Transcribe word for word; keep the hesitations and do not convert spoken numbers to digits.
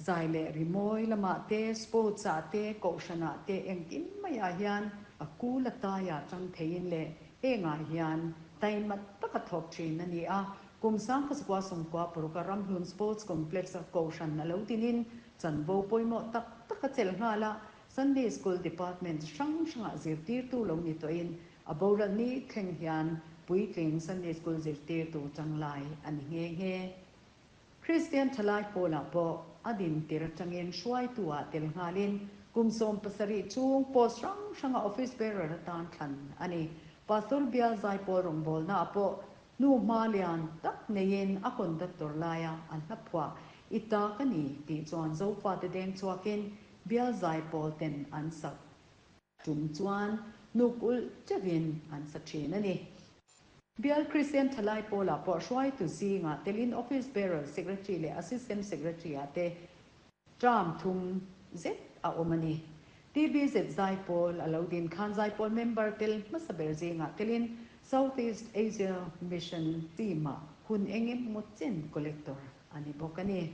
Zai leh rimawi lamah te, sports ah te, kohhranah te engkim maiah hian a kul a taiah tang theiin leh hengah hian taima taka thawk thin a ni a. Kum sangkhat zakua sawmkua paruk a Ramhlun Sports Complex a kohhran a lo dinin chanvo pawimawh tak tak a chelh nghal a. Sunday School Department hrang hrangah zirtirtu lo ni tawhin a boral ni thleng hian puitling Sunday School zirtirtu tanglai a ni nghe nghe. Kristian Thalai Pawlah pawh a din tir atangin hruaitu ah tel nghalin kum sawm pasarih chung post hrang hranga office bearer atan thlan a ni. Pastor Bial Zaipawl rawngbawlna ah pawh nu hma lian tak neiin a conductor laia an hla phuah i ta ka ni tih chuan Zofate deng chhuakin Bial Zaipawl ten an sak tum chuan nuk ulh teuhin an sa thin a ni. Bial Kristian Thalai Pawlah pawh hruaitu zingah telin office bearer, secretary leh assistant secretary ah te term thum zet a awm a ni. T B Z Zaipawl a lo din khan Zaipawl member tel hmasa ber zingah telin Southeast Asia Mission team ah hun engemaw chen collector a ni bawk a ni.